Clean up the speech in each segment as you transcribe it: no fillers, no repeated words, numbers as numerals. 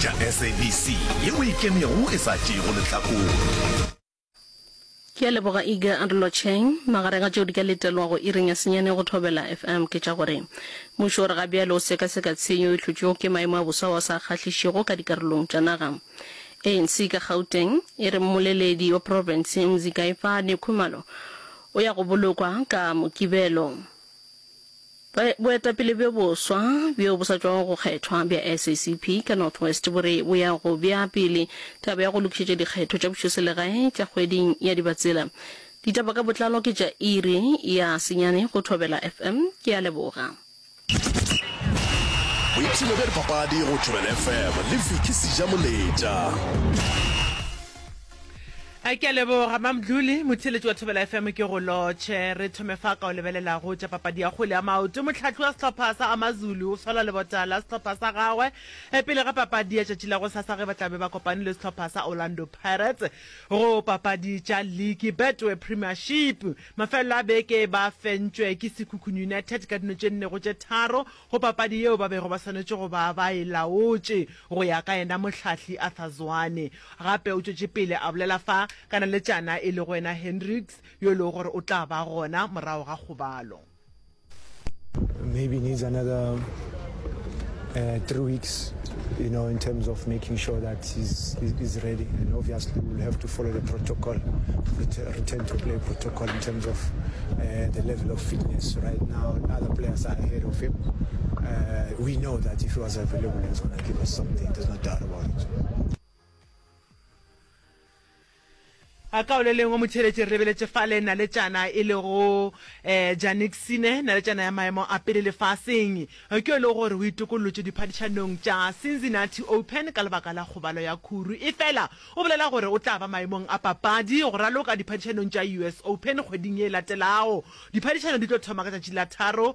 Tša SABC yeo e ikemego e sa tšeego lehlakore. Ke a leboga Iga Lotšheng. Magareng a tšeo di ka letelwago iring ya senyane go Thobela FM ke tša gore mmušo o re ga bjale o sekaseka tshenyo e hlotšwego ke maemo a boso ao a sa kgahlišego ka dikarolong tša naga. ANC ka Gauteng e re mmoleledi wa profense Mzikayifani Khumalo o ya go bolokwa ka Mokibelo. Boetapele bjo boswa bjo bo sa tšwago go kgethwa bja SACP ka North West bo re bo ya go bea pele taba ya go lokišetša dikgetho tša pušoselegae tša kgweding ya Dibatsela. Ditaba ka botlalo ke tša iri ya senyane go Thobela FM. Ke a leboga. Boipshino bja dipapadi go Thobela FM le Vicky Sejamoletša. A ke a leboga Mamdluli, motheeletši wa Thobela FM ke go lotšhe. Re thome fa ka o lebelela go tša papadi ya kgwele ya maoto. Mohlahli wa sehlopha sa Amazulu o sola lebota la sehlopha sa gagwe pele ga papadi ya tšatši la gosasa ge ba tla be ba kopane le sehlopha sa Orlando Pirates go papadi tša liki Betway Premiership. Mafelelo a beke ba fentšwe ke Sekhukhune United ka dino tše nne go tše tharo Go papadi yeo ba bego ba swanetše go ba ba e laotše, go ya ka yena mohlahli Arthur Zwane. Gape o tšwetše pele a bolela fa ka naletšana e lego yena Hendricks yo e lego gore o tla ba gona morago ga kgobalo. Maybe needs another 3 weeks you know in terms of making sure that he's, he's ready and obviously we'll have to follow the protocol return to play protocol in terms of uh, the level of fitness right now other players are ahead of him uh, we know that if he was available he's going to give us something there's no doubt about it A ka o le lengwe motheeletši re lebeletše fale naletšana e lego um Jannik Sinner, naletšana ya maemo a pele lefaseng. Ke yo e lego gore o itokollotše diphadišanong tša Cincinnati Open ka lebaka la kgobalo ya khuru. Efela o bolela gore o tla ba maemong a papadi go raloka diphadišanong tša US Open kgweding ye e latelago. Diphadišano di tlo thoma ka tšatši la tharo um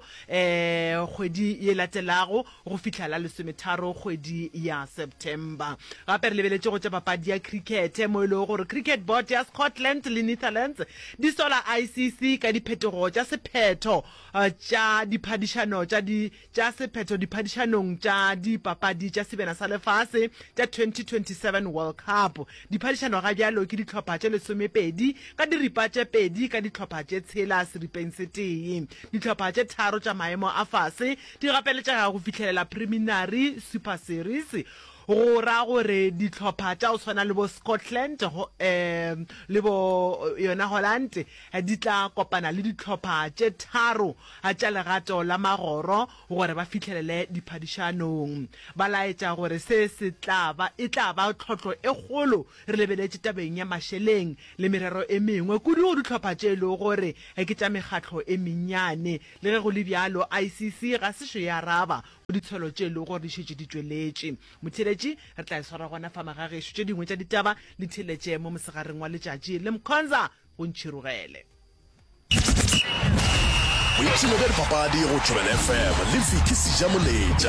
kgwedi ye e latelago. go fihla la lesometharo kgwedi ya September. Gape re lebeletše go tša papadi ya krikete mo e lego gore Cricket Board ya Scotland le Netherlands di sola ICC ka diphetogo tša sephetho tša diphadišano tša di tša sephetho diphadišanong tša dipapadi tša Sebjana sa Lefase tša 2027 World Cup. Diphadišano ga bjalo ke dihlopha tše lesomepedi ka diripa tše pedi ka dihlopha tše tshela seripeng se tee. Dihlopha tše tharo tša maemo a fase di gapeletšega go fihlelela Preliminary Super Series, go ra gore dihlopha tša go swana le bo Scotland le bo yona Holland di tla kopana le dihlopha tše tharo tša legato la magoro gore ba fihlelele diphadišanong. Ba laetša gore se se tla ba e tla ba tlhohlo e kgolo re lebeletše tabeng ya mašeleng le merero e mengwe, kudu go dihlopha tše e lego gore ke tša mekgatlo e mennyane. Le ge go le bjalo, ICC ga sešo e araba go ditshwelo tše e lego gore di šetše di tšweletše. Motheeletši, re tla e swara gona fa magagešo. Tše dingwe tša ditaba le theeletše mo mosegareng wa letšatši le Mkhonza go ntšhirogele. Boipshino bja dipapadi go Thobela FM le Vicky Sejamoletša.